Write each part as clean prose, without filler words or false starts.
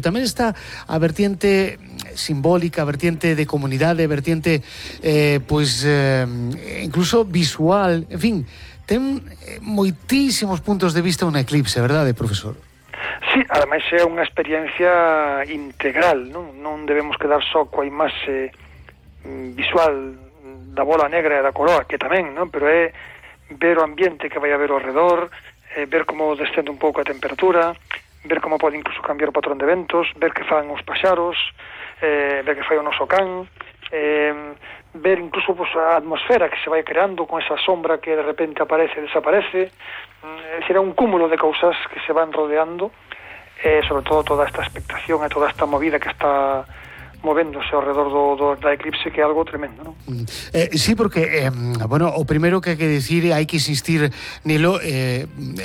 Tamén está a vertiente simbólica, a vertiente de comunidade, a vertiente incluso visual, en fin, ten moitísimos puntos de vista un eclipse, verdade, profesor? Sí, ademais é unha experiencia integral, non debemos quedar só coa imaxe visual da bola negra e da coroa, que tamén, non? Pero é ver o ambiente que vai haber ao redor, ver como descende un pouco a temperatura, ver como pode incluso cambiar o patrón de ventos, ver que fan os paxaros, ver que fai o noso can, ver incluso a atmosfera que se vai creando con esa sombra que de repente aparece e desaparece. Será un cúmulo de cousas que se van rodeando, sobre todo toda esta expectación e toda esta movida que está movéndose ao redor da eclipse, que é algo tremendo, non? Sí, porque, o primeiro que hai que dicir, hai que insistir nilo,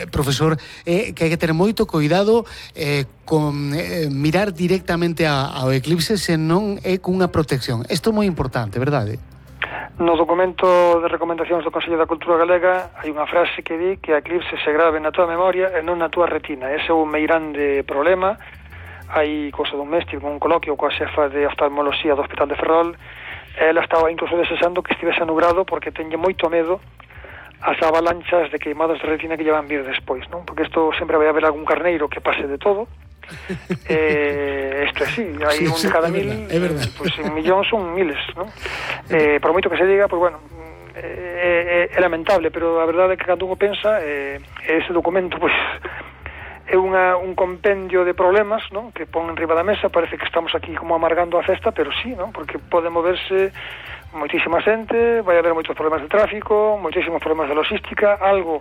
profesor, que hai que ter moito cuidado con mirar directamente ao eclipse se non é cunha protección. Isto é moi importante, verdade? No documento de recomendacións do Consello da Cultura Galega hai unha frase que di que a eclipse se grave na tua memoria e non na tua retina. Ese é un meirande problema. Hai cousa dun mes, tive un coloquio coa xefa de oftalmoloxía do Hospital de Ferrol. Ela estaba incluso desexando que estivese nublado porque teñe moito medo as avalanchas de queimadas de retina que lle van vir despois, non? Porque isto sempre vai haber algún carneiro que pase de todo. Isto é así, hai un de cada mil, pois un millón son miles, non? Por moito que se diga, pois bueno, é lamentable, pero a verdade é que cando uno pensa, ese documento, pois é un compendio de problemas, non? Que pon enriba da mesa, parece que estamos aquí como amargando a festa, pero sí, non? Porque pode moverse moitísima xente, vai haber moitos problemas de tráfico, moitísimos problemas de logística, algo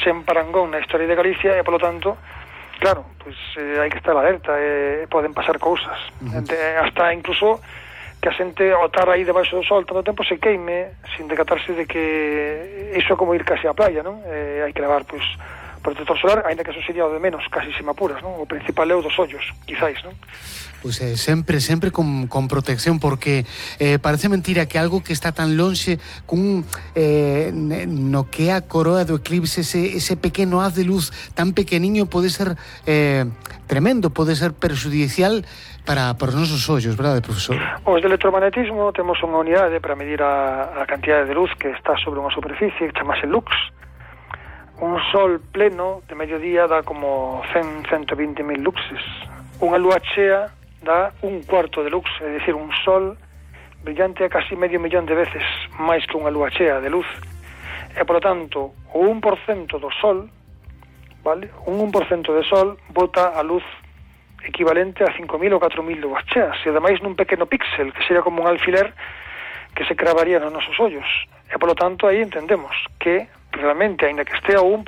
sen parangón na historia de Galicia, e polo tanto, claro, pois hai que estar alerta, poden pasar cousas, hasta incluso que a xente ao estar aí debaixo do sol tanto tempo se queime sin decatarse de que iso é como ir casi á playa, non? Hai que levar, pois, protector solar, ainda que eso sería o de menos, casi se me apuras, non? O principal é o dos ollos, quizáis, non? Pois sempre con protección, porque parece mentira que algo que está tan lonxe no que é a coroa do eclipse, ese pequeno haz de luz tan pequeniño pode ser tremendo, pode ser perxudicial para os nosos ollos, verdade, profesor? Os de electromagnetismo temos unha unidade para medir a cantidade de luz que está sobre unha superficie, que chamase lux. Un sol pleno de mediodía dá como 120.000 luxes. Unha lúa chea dá un cuarto de lux, é dicir, un sol brillante a casi medio millón de veces máis que unha lúa chea de luz. E, polo tanto, o 1% do sol, vale? Un 1% de sol bota a luz equivalente a 5.000 ou 4.000 lúas cheas, e ademais nun pequeno píxel, que sería como un alfiler que se cravaría nos nosos ollos. E, polo tanto, aí entendemos que realmente, aínda que estea o 1%,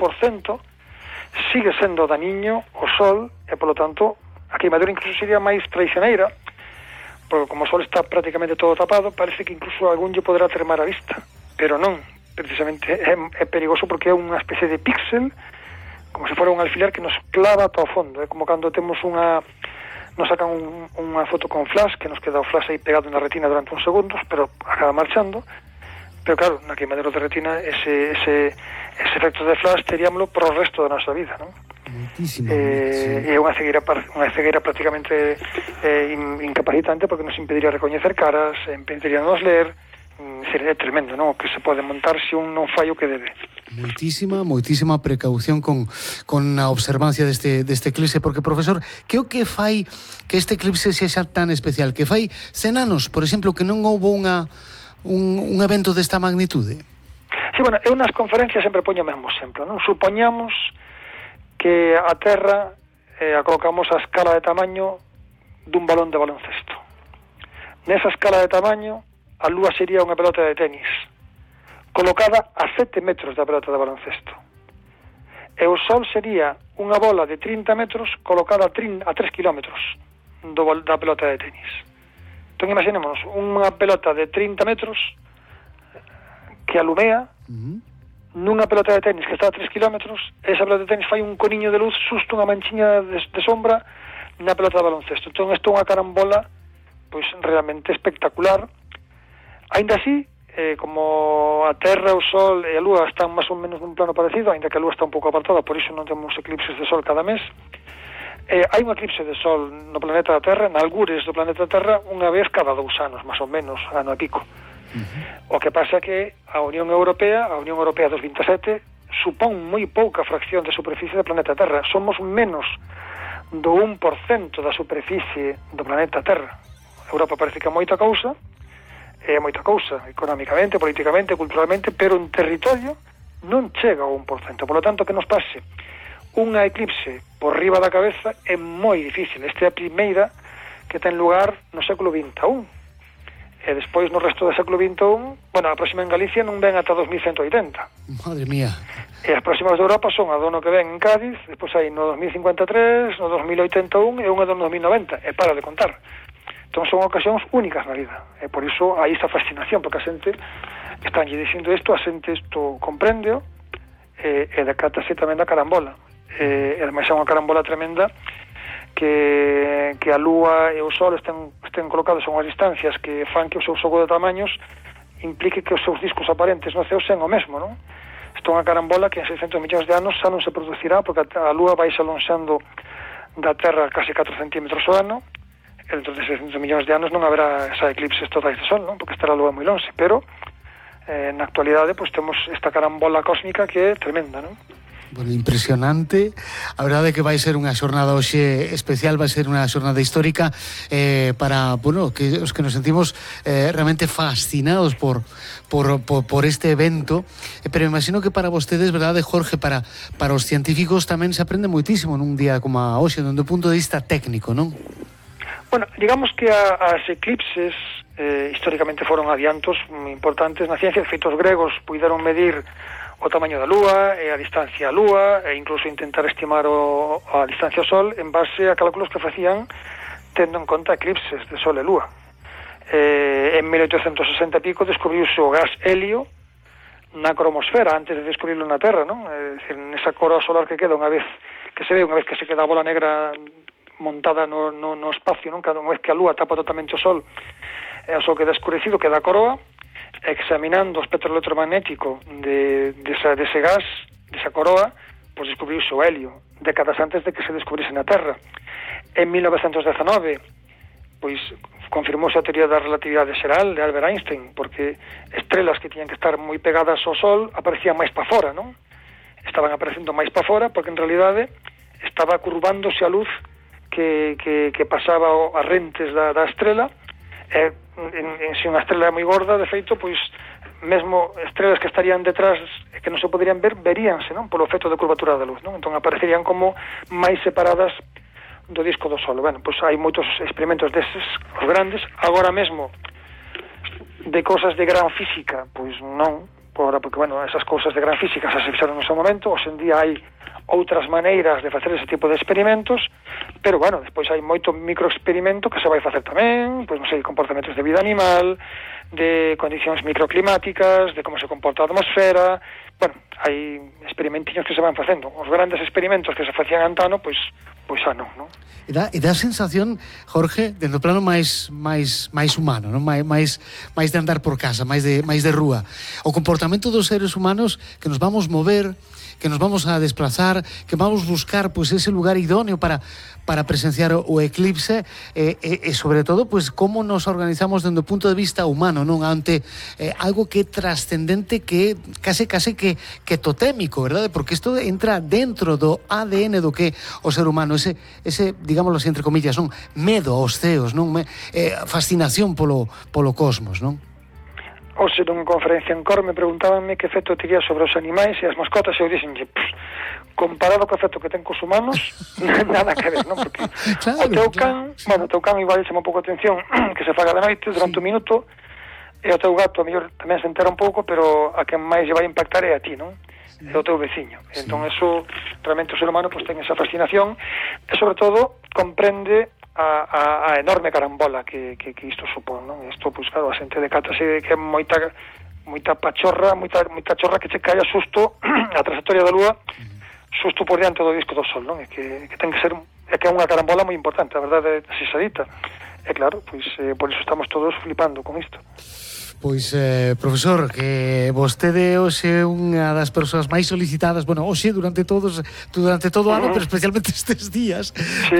sigue sendo daniño o sol, e, polo tanto, a queimadura incluso sería máis traicioneira, porque como o sol está prácticamente todo tapado, parece que incluso algún lle poderá tremar a vista, pero non, precisamente é perigoso porque é unha especie de píxel, como se fora un alfiler que nos clava ata o fondo. É como cando temos nos sacan unha foto con flash, que nos queda o flash aí pegado na retina durante uns segundos, pero acaba marchando. Pero claro, na queimadura de retina ese efecto de flash teríamolo pro resto da nosa vida, non? É unha cegueira prácticamente incapacitante, porque nos impediría recoñecer caras, impediría nos ler. Sería tremendo, non? O que se pode montar se un non fai o que debe. Moitísima precaución con a observancia deste eclipse, porque, profesor, que o que fai que este eclipse sexa tan especial? Que fai 100 anos, por exemplo, que non houbo un evento desta magnitude? Sí, bueno, eu nas conferencias sempre poño o mesmo exemplo, non? Supoñamos que a Terra a colocamos a escala de tamaño dun balón de baloncesto. Nesa escala de tamaño, a Lúa sería unha pelota de tenis, colocada a 7 metros da pelota de baloncesto. E o Sol sería unha bola de 30 metros colocada a 3 kilómetros da pelota de tenis. Entón, imaginémonos unha pelota de 30 metros que alumea nunha pelota de tenis que está a 3 kilómetros. Esa pelota de tenis fai un coniño de luz, susto unha manchiña de sombra na pelota de baloncesto. Entón, isto é unha carambola pois realmente espectacular. Ainda así, como a Terra, o Sol e a Lúa están máis ou menos nun plano parecido, ainda que a Lúa está un pouco apartada, por iso non temos eclipses de Sol cada mes, Hai un eclipse de sol no planeta Terra, na algures do planeta Terra, unha vez cada 2 anos, máis ou menos, ano e pico. O que pasa que a Unión Europea dos 27, supón moi pouca fracción de superficie do planeta Terra. Somos menos do 1% da superficie do planeta Terra. Europa parece que é moita cousa, económicamente, políticamente, culturalmente, pero en territorio non chega ao 1%. Por lo tanto, que nos pase unha eclipse por riba da cabeza é moi difícil. Esta é a primeira que ten lugar no século XXI. E despois no resto do século XXI, a próxima en Galicia non ven ata 2180. Madre mía. E as próximas de Europa son a do ano que ven en Cádiz, despois hai no 2053, no 2081 e unha do 2090, e para de contar. Entón son ocasións únicas na vida, e por iso hai esta fascinación, porque a xente estánlle dicindo isto, a xente isto comprende e decátase tamén da carambola. E ademais é unha carambola tremenda que a Lúa e o Sol estén colocados a unhas distancias que fan que o seu xogo de tamaños implique que os seus discos aparentes no ceo sean o mesmo, non? Isto é unha carambola que en 600 millóns de anos xa non se producirá, porque a Lúa vai alonxando da Terra case 4 centímetros ao ano, e dentro de 600 millóns de anos non haberá esa eclipses totais de Sol, non? Porque estará a Lúa moi longe, pero na actualidade temos esta carambola cósmica que é tremenda, non? Bueno, impresionante. A verdade é que vai ser unha xornada hoxe especial, vai ser unha xornada histórica para, que os que nos sentimos realmente fascinados por este evento, pero imagino que para vostedes, verdade, Jorge, para os científicos tamén se aprende moitísimo nun día como a hoxe, dende o punto de vista técnico, non? Bueno, digamos que as eclipses históricamente foron adiantos importantes na ciencia. De feito, os gregos puideron medir o tamaño da Lúa e a distancia á Lúa e incluso intentar estimar a distancia ao Sol en base a cálculos que facían tendo en conta eclipses de Sol e Lúa. En 1860 e pico descubriuse o gas helio na cromosfera antes de descubrirlo na Terra, non? É dicir, nesa coroa solar que queda unha vez que se queda a bola negra montada no espacio, non? Cada vez que a Lúa tapa totalmente o Sol e o Sol queda escurecido, queda a coroa. Examinando o espectro electromagnético dese gas, desa coroa, pois descubriuse o helio, décadas antes de que se descubrise na Terra. En 1919, pois confirmouse a teoría da relatividade xeral de Albert Einstein, porque estrelas que tiñan que estar moi pegadas ao Sol aparecían máis para fora, non? Estaban aparecendo máis para fora porque en realidade estaba curvándose a luz que pasaba as rentes da estrela. Se unha estrela é moi gorda, de feito, pois mesmo estrelas que estarían detrás e que non se poderían ver, veríanse, non? Polo efecto de curvatura da luz, non? Entón aparecerían como máis separadas do disco do Sol. Bueno, pois hai moitos experimentos deses, os grandes, agora mesmo de cousas de gran física, pois non, porque, esas cousas de gran física xa se fixaron no seu momento. Hoxe en día hai outras maneiras de facer ese tipo de experimentos, pero, despois hai moito microexperimento que se vai facer tamén, pois, comportamentos de vida animal, de condicións microclimáticas, de como se comporta a atmosfera. Hai experimentinhos que se van facendo. Os grandes experimentos que se facían antano, pois xa non? E dá a sensación, Jorge, dentro do plano máis humano, non? máis de andar por casa, máis de rúa. O comportamento dos seres humanos que nos vamos mover, que nos vamos a desplazar, que vamos buscar pois ese lugar idóneo para presenciar o eclipse e sobre todo pois como nos organizamos dentro do punto de vista humano, non, ante algo que é trascendente, que case que totémico, verdade? Porque isto entra dentro do ADN do que o ser humano, ese digámoslo así entre comillas, non, medo aos ceos, non, fascinación polo cosmos, non? Hoxe nunha conferencia en Cor me preguntábanme que efecto tería sobre os animais e as mascotas, e eu dixenlle, comparado co efecto que ten cos humanos, nada que ver, non? Porque claro, o teu can, o teu can igual chama un pouco a atención que se faga de noite durante un minuto, e o teu gato a mellor tamén se entera un pouco, pero a quen máis lle vai impactar é a ti, non? É o teu veciño. Entón, eso, realmente o ser humano pues, ten esa fascinación e, sobre todo, comprende a enorme carambola que isto supón, non? Isto, pois, claro, a xente decátase que é moita pachorra, moita chorra que che cae a susto a trayectoria da Lúa, susto por diante do disco do Sol, non? É que ten que ser, é que é unha carambola moi importante, a verdade, se xa dita. E claro, pois, por iso estamos todos flipando con isto. Pois, profesor, que vostede hoxe é unha das persoas máis solicitadas, bueno, hoxe durante todo o ano, pero especialmente estes días. Sí,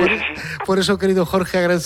Por eso, querido Jorge, agradezo